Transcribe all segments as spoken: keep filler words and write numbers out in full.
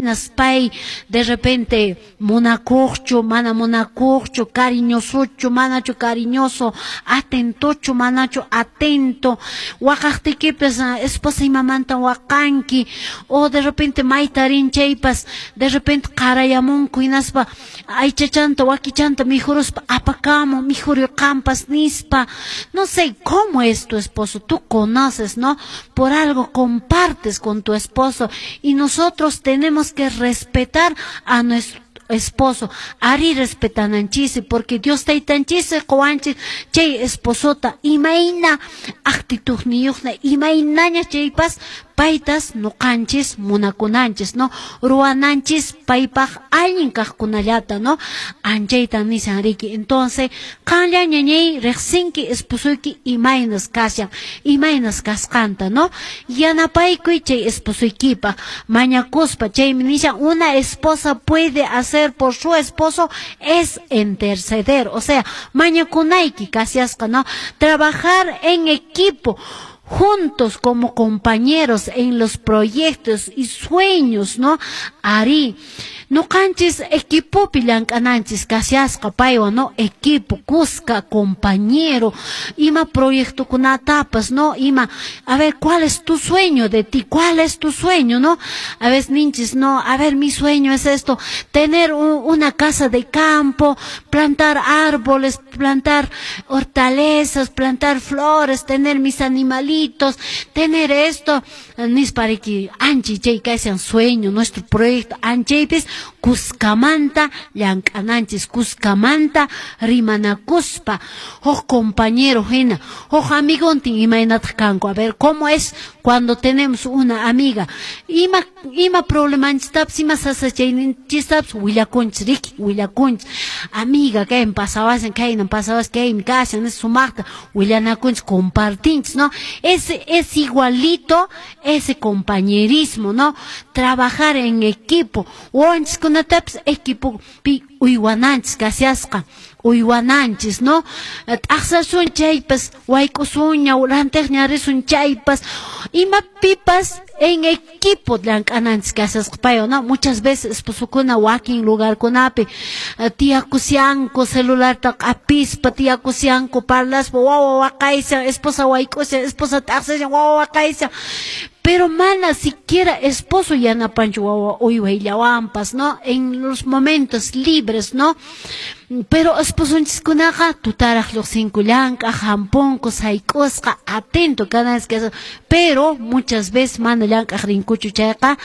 Imaynas pay de repente munakuqchu, mana munakuqchu, cariñosochu, manachu cariñoso, atentochu, manachu atento, waqaqtikipas esposa imamanta waqanki, o de repente mayta rin chaypas, de repente qarayamunku hinaspa aychachanta wakichanta mikhuruspa apakamu mikhuriqanpas nispa. No sé cómo es tu esposo, tú conoces, ¿no? Por algo compartes con tu esposo y nosotros tenemos que respetar a nuestro esposo, ari respetananchis porque Dios taytanchis qowanchis chay esposota imayna actitudniyuqna imaynaña chaypas paytas nuqanchis munakunanchis, ¿no? Ruwananchis paypaq allin kaqkunallata, ¿no? Anchayta nishan riki. Entonces, qanlla ñañay riqsinki esposoyki imaynas kashan, imaynas kasqanta, ¿no? Yanapaykuy chay esposoykipaq mañakuspa chaymi nishan una esposa puede hacer por su esposo es interceder, o sea, mañakunayki kashasqa, ¿no? Trabajar en equipo, juntos como compañeros en los proyectos y sueños, ¿no? Ari, nuqanchis equipopi llank'ananchis kashasqa paywan, ¿no? Equipo, kuska, compañero, ima proyectokunatapas, ¿no? Ima, a ver, ¿cuál es tu sueño de ti? ¿Cuál es tu sueño, no? A veces ninchis, no, a ver, mi sueño es esto, tener un, una casa de campo, plantar árboles, plantar hortalizas, plantar flores, tener mis animalitos, tener esto, nispariki anchi chay kashan sueño, nuestro proyecto, anchaypis kuskamanta llank'ananchis, kuskamanta rimanakuspa, huk compañero hina, huk amigontin imaynataq kanku, a ver, ¿cómo es cuando tenemos una amiga? Ima ima problemanchistapis, ima sasachayninchistapis willakunchis riki, willakunchis, amiga, kaymi pasawashan, kaynan pasawashan, kaymi kashan, sumaqta willanakunchis, compartinchis, ¿no? Es, es igualito ese compañerismo, ¿no? Trabajar en equipo, wawanchiskunatapis equipopi uywananchis kashasqa, uywananchis, ¿no? T'aqsasun chaypas, wayk'usunña, rantiqña risun chaypas, imapipas en equipo llank'ananchis kashasqa paywan, ¿no? Muchas veces esposokuna wakin lugarkunapi tiyakushanku celularta q'apispa, tiyakushanku parlaspa, wawa waqayshan, esposa wayk'ushan, esposa t'aqsashan, wawa waqayshan, pero mana siquiera esposo yanapanchu wawa uywayllawanpas, ¿no? En los momentos libres, ¿no? Pero esposonchiskunaqa tutaraq lluqsinku llank'aq, hampunku, sayk'usqa, atento cada vez que pero muchas veces mana llank'aq rinkuchu chayqa,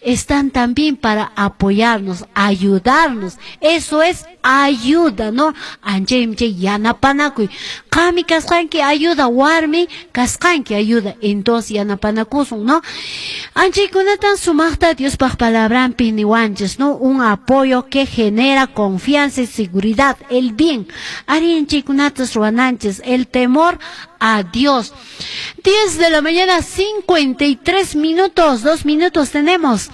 están también para apoyarnos, ayudarnos. Eso es ayuda, ¿no? Anchaymi chay yanapanakuy. Qami kasqanki ayuda, warmi kasqanki ayuda. Entonces yanapanakusun, ¿no? Anchaykunatan sumaqta Diospaq palabranpi niwanchis, ¿no? Un apoyo que genera confianza y seguridad, el bien. Ari anchaykunatas ruwananchis, el temor a Dios. diez de la mañana, cincuenta y tres minutos, dos minutos tenemos.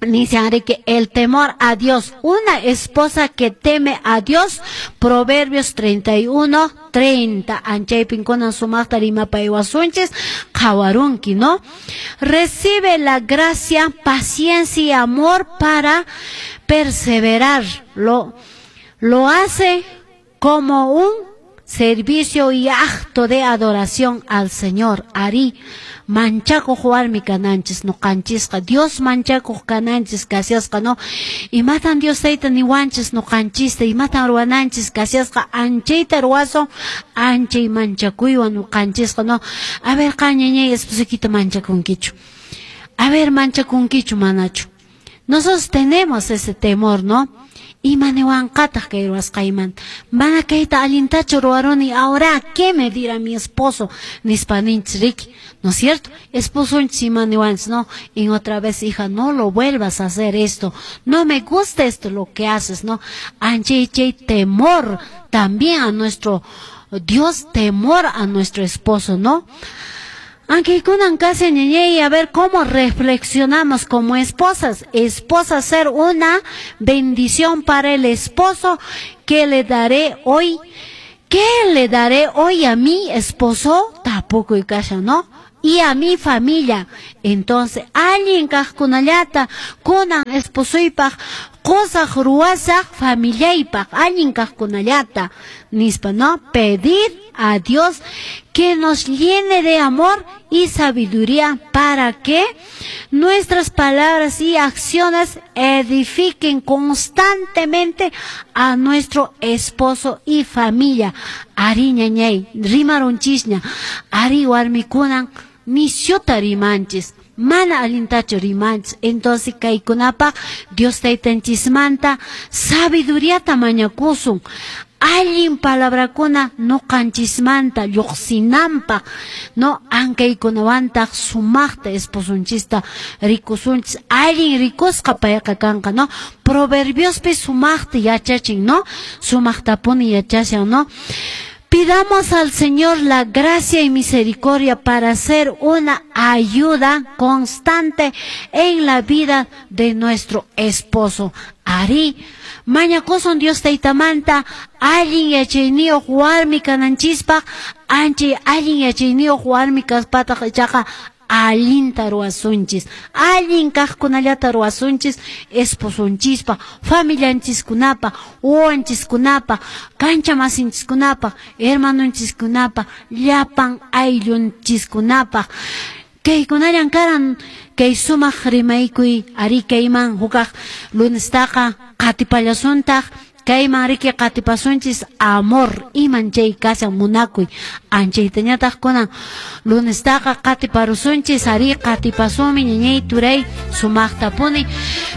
Dice que el temor a Dios, una esposa que teme a Dios, Proverbios treinta y uno, treinta, anchaypin kunan sumaqta rimapaywasunchis, qhawarunki, ¿no? Recibe la gracia, paciencia y amor para perseverar. Lo, lo hace como un servicio y acto de adoración al Señor. Ari, manchakuq warmi kananchis, nuqanchisqa, Dios manchakuq kananchis kashasqa, ¿no? Imatan Dios tayta niwanchis nuqanchista, imatan ruwananchis kashasqa, anchayta ruwasun, anchay manchakuywan nuqanchisqa, ¿no? A ver, qan ñañay esposoykita manchakunkichu. A ver, manchakunkichu manachu. Nosotros tenemos ese temor, ¿no? Ima niwanqataq kay ruwasqaymanta, mana kayta allintachu ruwaruni, ahora ¿qué me dirá mi esposo? Nispa ninchis riki, ¿no es cierto? Esposonchis ima niwanchis, ¿no? Y otra vez, hija, no lo vuelvas a hacer esto, no me gusta esto lo que haces, ¿no? Anchay chay temor también a nuestro Dios, temor a nuestro esposo, ¿no? Aunque kunan casi ñañay, a ver cómo reflexionamos como esposas. Esposa, ser una bendición para el esposo. ¿Qué le daré hoy? ¿Qué le daré hoy a mi esposo? Tampoco y casa, ¿no? Y a mi familia. Entonces allin kaqkunallata kunan esposoypaq qosaq ruwasaq familiaypaq allin kaqkunallata nispa, ¿no? Pedir a Dios que nos llene de amor y sabiduría para que nuestras palabras y acciones edifiquen constantemente a nuestro esposo y familia. Ari ñañay, rimarunchisña, ari warmikunan nisyuta rimanchis, mana allintachu rimanchis. Entonces kaykunapaq Dios taytanchismanta sabiduriata mañakusun, allin palabrakuna nuqanchismanta lluqsinanpaq, no ankaykunawantaq sumaqta esposunchista rikusunchis, allin rikusqa payqa kanqa, no? Proverbiospi sumaqta yachachin, no? Sumaqtapuni yachashan, no? Pidamos al Señor la gracia y misericordia para ser una ayuda constante en la vida de nuestro esposo. Ari, mañakusun Dios taytamanta allin yachayniyuq warmi kananchispaq, anchay allin yachayniyuq warmi kaspataq ichaqa allinta ruwasunchis, allin kaqkunallata ruwasunchis esposunchispa, familianchiskunapa, wawanchiskunapa, kancha masinchiskunapa, hermanonchiskunapa, llapan ayllunchiskunapa. Kaykunallan karan kay sumaq rimaykuy ari kayman hukaq lunestaqa qatipallasuntaq. Kayman riki qatipasunchis amor iman chay kashan munakuy anchaytañataq kunan lunestaqa qatiparusunchis ari qatipasunmi ñañay turay sumaqtapuni.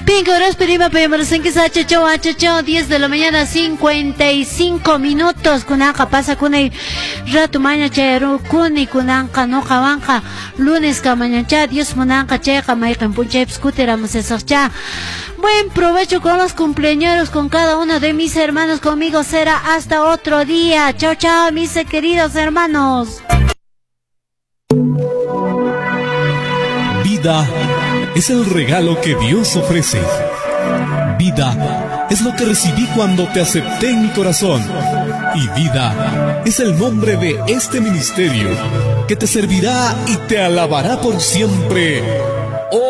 Pinka horas prima payamarasanki achachaw achachaw diez de la mañana cincuenta y cinco minutos kunanqa pasakunay rato maña chayarukuni kunanqa nuqawanqa lunes kamañancha Dios munanqa chayqa mayqin punchaypis kutiramusasaqcha. Buen provecho con los cumpleaños, con cada uno de mis hermanos. Conmigo será hasta otro día. Chao, chao, mis queridos hermanos. Vida es el regalo que Dios ofrece. Vida es lo que recibí cuando te acepté en mi corazón. Y vida es el nombre de este ministerio que te servirá y te alabará por siempre. ¡Oh!